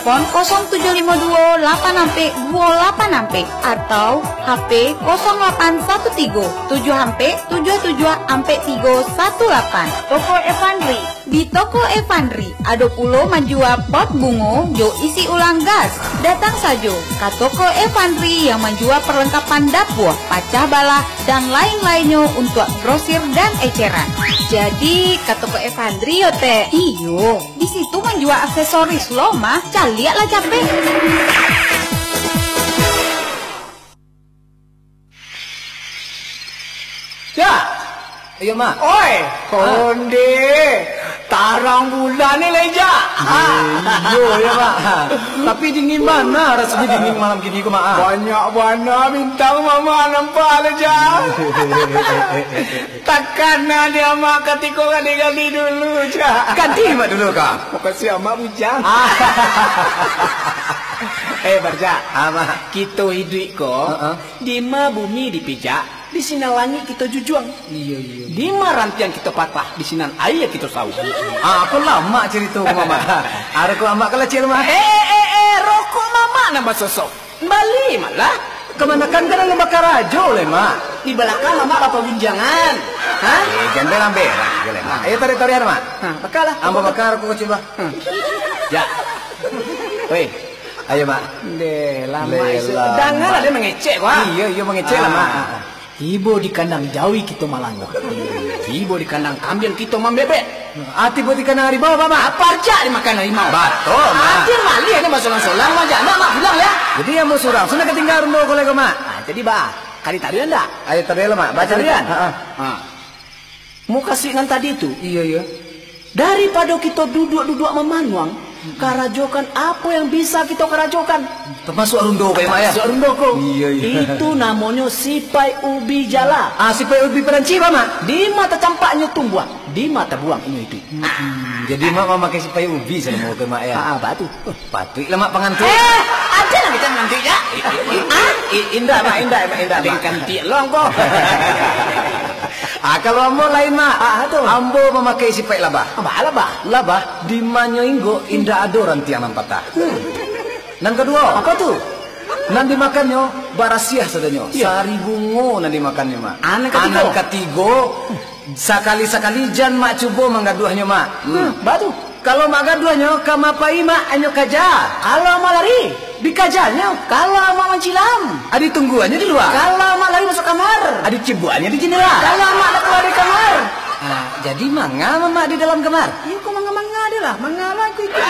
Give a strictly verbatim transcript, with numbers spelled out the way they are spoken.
Telepon kosong tujuh limo duo lapan ampek duo lapan ampek atau H P kosong lapan satu tigo tujuh ampek tujuh tujuh ampek tigo satu lapan. Toko Evandri. Di toko Evandri, ado pulo manjua pot bungo jo isi ulang gas. Datang sajo ka toko Evandri yang manjua perlengkapan dapur, pacah balah, dan lain-lainnyo untuak grosir dan eceran. Jadi, ka toko Evandri yo, Tek? Iyo, di situ manjua aksesoris lo mah. Caliak lah capek. Ya. Iyo, Mak. Oi, ah, onde. Tarang bulan ni, Leja. Iyo, ya, Mak. Tapi dingin bana rasonyo dingin malam kini ko, Mak, ah. Banyak bana bintang Mamak nampak, Leja. Takana dek Amak katiko gadih-gadih dulu, Jak. Gadih Mak dulu, kah? Makasih Amak bujang. Ah. Eh, Barjak. Ah, Mak. Kito iduik ko, heeh, dima bumi dipijak, di sinan langik kito jujuang. Iyo, iyo. Dima rantiang kito patah, di sinan aia kito sauak. Ah, ko lamak carito ko, Mamak. Aro ko Amak ka lacil, Mak. Eh, eh, eh, eh, rokok Mamak nan basosok. Bali malah. Kamanakan ka dalam bakarajo lai, Mak. Di balakang Mamak bapagunjangan. Ha? Eh, jan berang-berang se lai, Mak. Ayo, tarik-tarian, Mak. Ha, bakalah. Ambo bakar rokok kecil, Mak. Ha. Ya. Weh. Ayo, Mak. Deh, lama. Deh, isu. Lama. Dangalah dia mangecek, Mak. Iyo, iyo, mangecek lah, Mak. Ah. Tibo di kandang jawi kito malangguah. Tibo di kandang kambiang kito mambebek. Ah, tibo di kandang harimau, Mak. Apa aja dimakan harimau? Batul, Mak. Ada malih ada basolang-solang, Mak. Jangan, Mak, pulang, ya. Jadi, ambo surang, sudah katinggal rundo ko lai ko, Mak. Ah, jadi, bah, kali tadi ndak? Ayo, tadi lah, Mak. Baca tadi, Mak. Ha, ha. Ha. Mukasuik nan tadi tu. Iyo, iyo. Daripado kito duduak-duduak mamanuang, karajokan apo yang bisa kito karajokan. Tamasuak rundo ko, Mak, ya? Tamasuak rundo ko. Iyo, iyo. Itu namonyo sipai ubi jala. Ah, sipai ubi Perancis, Mak? Dima tacampaknyo tumbuah, dima tabuang inyo iduik. Hmm, jadi Mak mamakai sipai ubi salamo ko, Mak, ya? Ah, ah, batu. Patuik lah, Mak, pangantuik. Eh, ada lah kita mengantuik, ya? I-, i-, i-, i-, indak, Mak, indak, Mak, indak, Mak. Tingkan tiak long ko. Ah, kalau ambo lain, Mak. Ah, tu. Ambo mamakai sipai labah. Apa labah? Labah, di manyo inggok indak ado rantiang nan patah. Hmm. Nan kaduo. Apa tu? Nan dimakannyo barasiah sadonyo. Iya. Sari bungo nan dimakannyo, Mak. Ah, nan katigo. Ah, nan katigo, sakali-sakali jan Mak cubo manggaduahnyo, Mak. Hmm. Hmm, batu. Kalau Mak gaduahnyo, ka ma pai, Mak, anyo kaja. Kalau Mak lari, dikajanyo. Kalau Mak mancilam, ah, ditungguannyo di lua. Kalau Mak lari masuak kamar, ah, dicibuakannyo di jandela. Kalau Mak dak kalua dari kamar. Ah, jadi manga Mamak di dalam kamar? Iyo, ko manga-manga je lah, manga lah aku itu.